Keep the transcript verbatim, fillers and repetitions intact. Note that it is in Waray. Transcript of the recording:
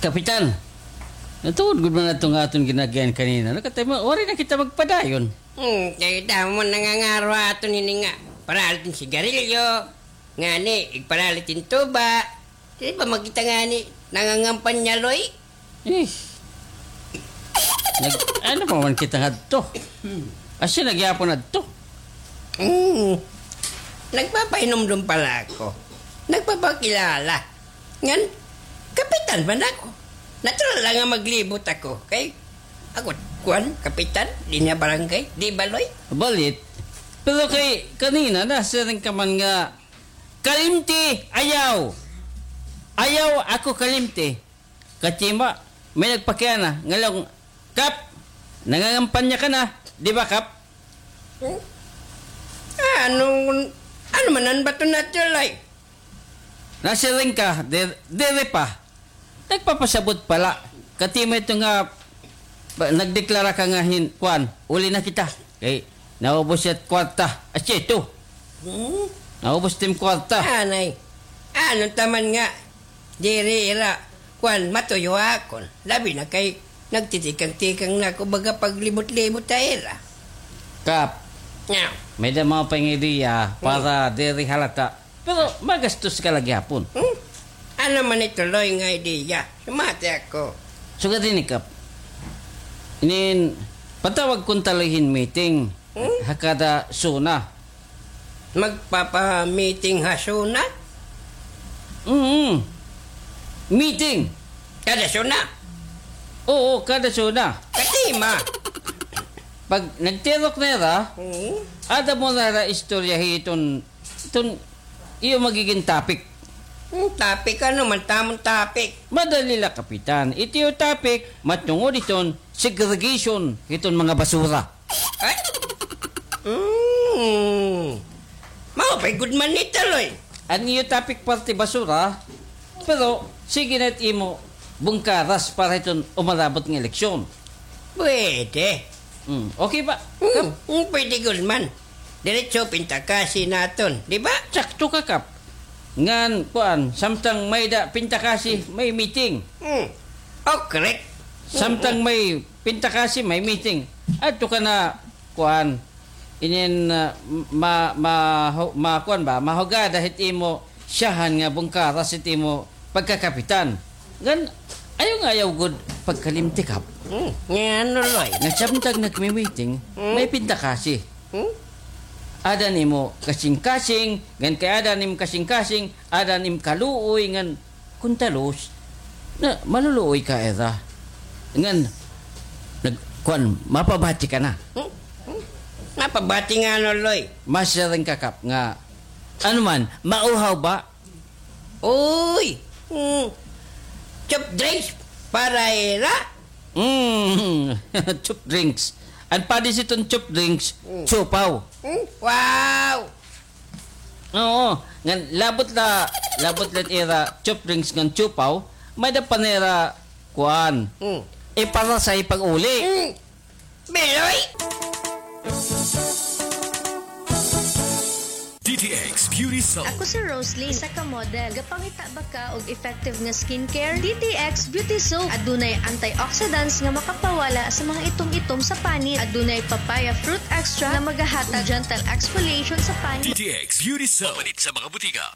Kapitan, natuod gud man ato nga aton ginagian kanina. Nakatay mo, waray na kita magpadayon. Hmm, kay damo man nangangaro aton hini nga paralit hin sigarilyo, ngani, igparalit hin tuba. Di ba makita ngani, nangangampanya, Loy? Eh. Nag-, ano pa man kita ngadto? Asya na gihapon adto. Hmm. Nagpapahinumdom pala ako. Nagpapakilala. Ngan, kapitan man ako. Natural la nga maglibot ako. Kay, ako, kuan, kapitan, dinhi ha barangay. Di ba, Loy? Balit. Pero kay, kanina, nasiring ka man nga, kalimti, ayaw. Ayaw ako kalimti. Kachima, may nagpakiana, ngalong, Kap, nangangampanya ka na, di ba, Kap? Hmm? Ano, ano man an bato na, Loy? Nasiring ka, di-, diri pa. Nagpapasabot pala. Kati mo ito nga, ba, nagdeklara ka nga hin-, kuan, uli na kita. Kay, naubos it kwarta. Asya ito. Hmm? Naubos it im kwarta. Anay. Ano taman nga, diri ira, kuan, matuyo akon. Labi na kay, nagtitikang-tikang na ako baga paglibot-libot ha ira. Kap, Nga. May-ada mga pang-ideya para diri halata. Pero magastos ka la gihapon. Hmm? Ano man ito, Loy, nga ideya? Sumati ako. Sugad hini, Kap. Inin, patawag kunta la hin meeting. Hmm? Ha kada zona. Magpapa-meeting ha zona? Mm. Meeting. Kada zona? Oo, kada zona. Katima. Pag nagtirok na ira, hmm, ada mo na ira istorya hiton Iton iyo magigin topic. Hmm, topic, ano man tamon topic? Madali la, Kapitan. It iyo topic, matungod iton segregation, iton mga basura. Ay? Hmm. Maupay gud man ito, Loy. An iyo topic parte basura, pero sige na it imo bungkaras para iton umarabot nga eleksyon. Pwede. Hmm, okay ba? Hmm, hmm, pwede gud man. Diretso pintakasi naton, di ba? Sakto ka, Kap. Ngan, kuan, samtang may-ada pintakasi, may meeting. Hmm. Oh, correct. Samtang may pintakasi, may meeting. Adto ka na, kuan, inin, ah, ma-, ma-, ma-, kuan ba, mahugada hit imo syahan nga bungkaras hit imo pagkakapitan. Ngan, ayaw nga ayaw gud pagkalimti, Kap. Hmm, nga ano, Loy? Nga samtang nagmi-meeting, hmm, may pintakasi. Hmm? Ada nimo kasingkasing, ngan kay ada nimo kasingkasing, ada nimo kaluoy, ngan kuntalos, na maluluoy ka ira. Ngan, nag-, kuan, mapabati ka na. Hmm? Hmm? Mapabati nga ano, Loy? Masiring ka, Kap, nga, ano man, mauhaw ba? Uy! Mm. Soft drinks para ira? Mm. Soft drinks. An padi hiton soft drinks, mm, siopaw. Mm? Wow! Oo. Ngan labot la, labot la ira soft drinks ngan siopaw, may-ada pa nira kuan. Mm. Iparasay pag-uli. Mm. Biloy! D T X Beauty Soap. Ako si Rosalie, isa ka model. Gapangita ba ka og effective nga skincare? D T X Beauty Soap. Adunay antioxidants nga makapawala sa mga itom-itom sa panit. Adunay papaya fruit extract nga magahatag gentle exfoliation sa panit. D T X Beauty Soap. Mapalit sa mga butika.